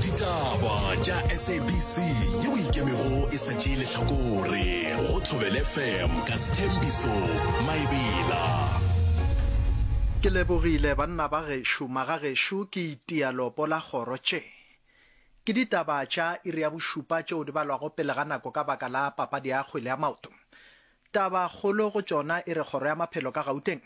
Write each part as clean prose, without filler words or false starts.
Ditaba tša SABC yeo e ikemego e sa tšee lehlakore go Thobela FM ka Sthembiso Maebela. Ke lebogile banna ba gešo, magagešo ke itia lopo la kgoro tše. Ke ditaba tša iri ya bošupa tšeo di balwago pele ga nako ka baka la papadi ya kgwele ya maoto. Tabakgolo go tšona e re Kgoro ya Maphelo ka Gauteng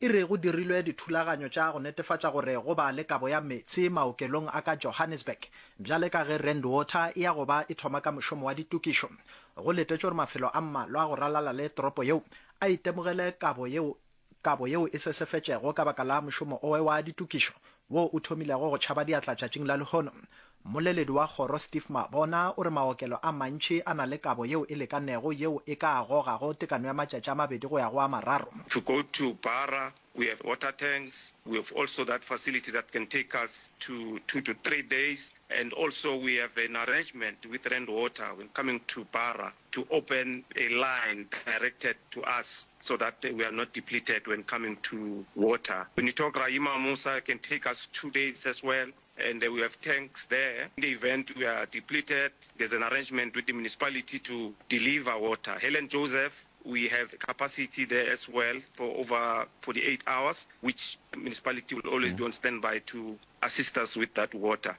e re go dirilwe dithulaganyo tša go netefatša gore go ba le kabo ya meetse maokelong a ka Johannesburg bjale ka ge Rand Water e ya go ba e thoma ka mošomo wa ditokišo. Go letetšwe gore mafelo a mmalwa go ralala le toropo yeo a itemogele kabo yeo kabo yeo e sesefetšego ka baka la mošomo owe wa ditokišo wo o thomilego go tšhaba diatla tšatšing la lehono. Mmoleledi wa kgoro Steve Mabona o re maokelo a mantši a na le kabo yeo e lekanego yeo e ka gogago tekano ya matšatši a mabedi go ya go a mararo. To go to Bara, we have water tanks, we have also that facility that can take us to 2 to 3 days and also we have an arrangement with Rand Water when coming to Bara to open a line directed to us so that we are not depleted when coming to water. When you talk Rahima Moosa, it can take us 2 days as well and we have tanks there. In the event we are depleted, there's an arrangement with the municipality to deliver water. Helen Joseph, we have capacity there as well for over 48 hours, which municipality will always be on standby to assist us with that water.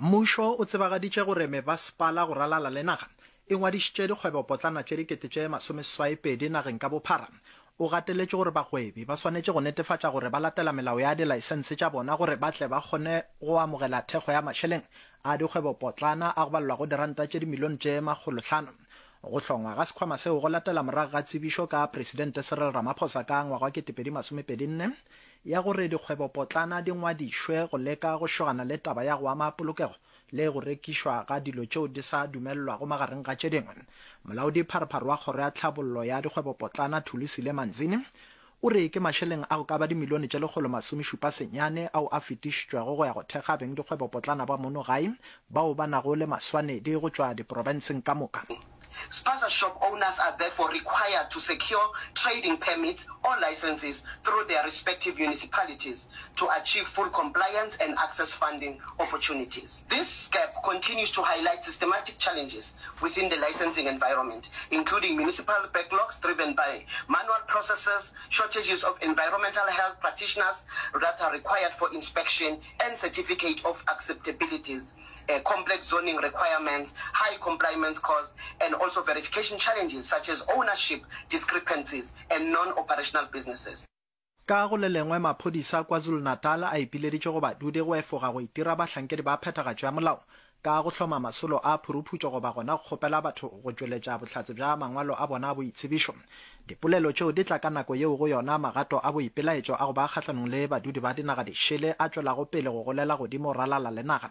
Mmušo o tsebagaditše gore mebasepala go ralala le naga e ngwadišitše dikgwebopotlana tše dikete tše masomeseswai-pedi nageng ka bophara. O gateletše gore bagwebi ba swanetše go netefatša gore ba latela melao ya dilaesense tša bona gore ba tle ba kgone go amogela thekgo ya mašeleng a dikgwebopotlana a go balelwago diranta tše dimilione tše makgolohlano. Go hlongwa ga sekhwama seo go latela morago ga tsebišo ka Presidente Cyril Ramaphosa ka ngwaga wa 2024 ya gore dikgwebopotlana di ngwadišwe go leka go šogana le taba ya go ama polokego le go rekišwa ga dilo tšeo di sa dumelelwago magareng ga tše dingwe. Molaodi-pharephare wa Kgoro ya Tlhabollo ya Dikgwebopotlana Thulisile Manzini o re ke mašeleng a go ka ba dimilione tše 179 ao a fetišitšwego go ya go thekga bengdikgwebopotlana ba mono gae bao ba nago le maswanedi go tšwa diprofenseng ka moka. Spaza shop owners are therefore required to secure trading permits or licenses through their respective municipalities to achieve full compliance and access funding opportunities. This gap continues to highlight systematic challenges within the licensing environment, including municipal backlogs driven by manual processes, shortages of environmental health practitioners that are required for inspection and certificate of acceptabilities, complex zoning requirements, high compliance costs, and also verification challenges such as ownership discrepancies and non-operational businesses. Ka go le lengwe, maphodisa KwaZulu-Natal a ipileditše go badudi go efoga go itira bahlankedi ba phethagatšo ya molao ka go hloma masolo a phuruphutšo goba gona go kgopela batho go tšweletša bohlatse bja mangwalo a bona a boitsebišo. Dipolelo tšeo di tla ka nako yeo go yona magato a boipelaetšo a go ba kgahlanong le badudi ba dinaga dišele a tšwelago pele go golela godimo ralala le naga.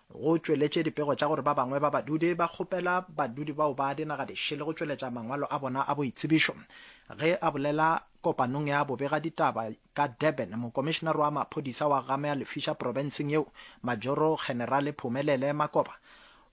Go tšweletše dipego tša gore ba bangwe ba badudi ba kgopela badudi bao ba dinaga dišele go tšweletša mangwalo a bona a boitsebišo. Ge a bolela kopanong ya bobegaditaba ka Durban, mokomišenare wa maphodisa wa Gamea-Lefiša profenseng yeo, Majoro Generale Phumelele Makoba,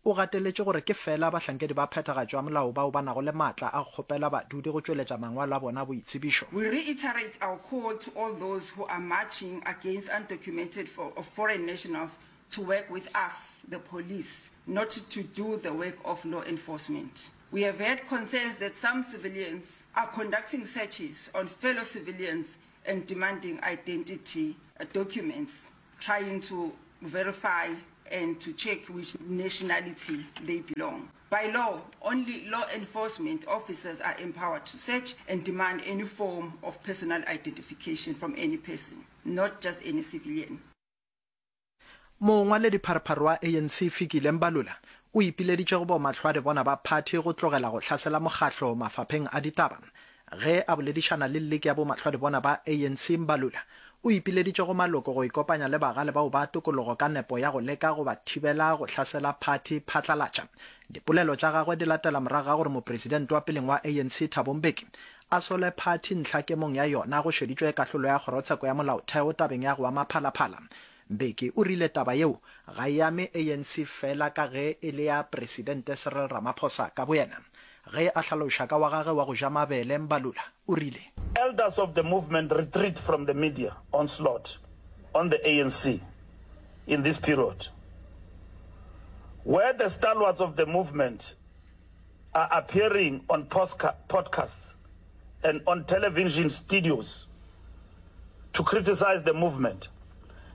o gateletše gore ke feela bahlankedi ba phethagatšo ya molao bao ba nago le maatla a go kgopela badudi go tšweletša mangwalo a bona a boitsebišo. We reiterate our call to all those who are marching against undocumented foreign nationals to work with us, the police, not to do the work of law enforcement. We have heard concerns that some civilians are conducting searches on fellow civilians and demanding identity documents, trying to verify and to check which nationality they belong. By law, only law enforcement officers are empowered to search and demand any form of personal identification from any person, not just any civilian. Mongwaledipharephare wa ANC Fikile Mbalula o ipileditše go bomahlwadibona ba phathi go tlogela go hlasela mokgahlo mafapheng a ditaba. Ge a boledišana le lliki ya bomahlwadibona ba ANC Mbalula o ipileditše go maloko go ikopanya le bagale bao ba tokologo ka nepo ya go leka go ba thibela go hlasela phathi phatlalatša. Dipolelo tša gagwe di latela morago ga gore mopresidente wa peleng wa ANC Thabo Mbeki a sole phathi ntlhakemong ya yona go šeditšwe kahlolo ya kgorotsheko ya molaotheo tabeng ya go ama Phalaphala. Mbeki o rile taba yeo ga e ame ANC fela ka ge e le ya Presidente Cyril Ramaphosa ka boyena. Ge a hlaloša ka wa gagwe wa go ja mabele, Mbalula o rile. Elders of the movement retreat from the media onslaught on the ANC in this period. Where the stalwarts of the movement are appearing on podcasts and on television studios to criticize the movement,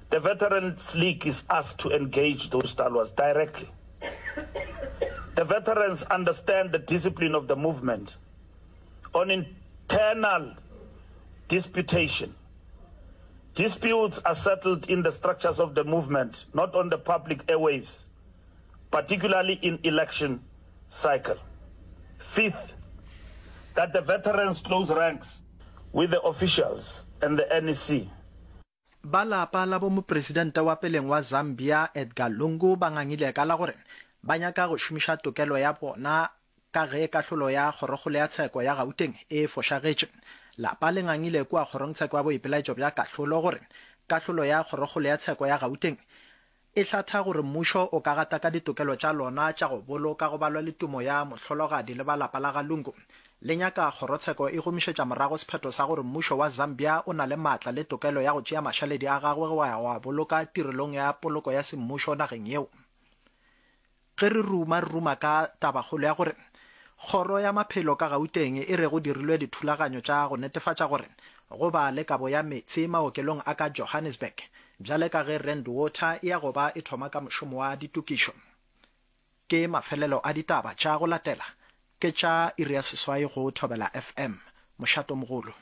the Veterans League is asked to engage those stalwarts directly. The veterans understand the discipline of the movement on internal disputation. Disputes are settled in the structures of the movement, not on the public airwaves, particularly in election cycle. Fifth, that the veterans close ranks with the officials and the NEC. Ba lapa la bo mopresidente wa peleng wa Zambia Edgar Lungu ba ngangile ka la gore ba nyaka go šomiša tokelo ya bona ka ge kahlolo ya Kgorokgolo ya Tsheko ya Gauteng e fošagetše. Lapa le ngangile kua Kgorongtsheko ya Boipelaetšo bja Kahlolo gore kahlolo ya Kgorokgolo ya Tsheko ya Gauteng e hlatha gore mmušo o ka gataka ditokelo tša lona tša go boloka go balwa le tumo ya mohlologadi le ba lapa la ga Lungu. Le nyaka kgorotsheko e gomišetša morago sephetho sa gore mmušo wa Zambia o na le maatla le tokelo ya go tšea mašaledi a gagwe go ya go a boloka tirelong ya poloko ya semmušo nageng yeo. Ge re ruma, re ruma ka tabakgolo ya gore Kgoro ya Maphelo ka Gauteng e re go dirilwe dithulaganyo tša go netefatša gore go ba le kabo ya meetse maokelong a ka Johannesburg bjale ka ge Rand Water e ya go ba e thoma ka mošomo wa ditokišo. Ke mafelelo a ditaba tša go latela ke tša iri ya seswai go Thobela FM. Mošatomogolo.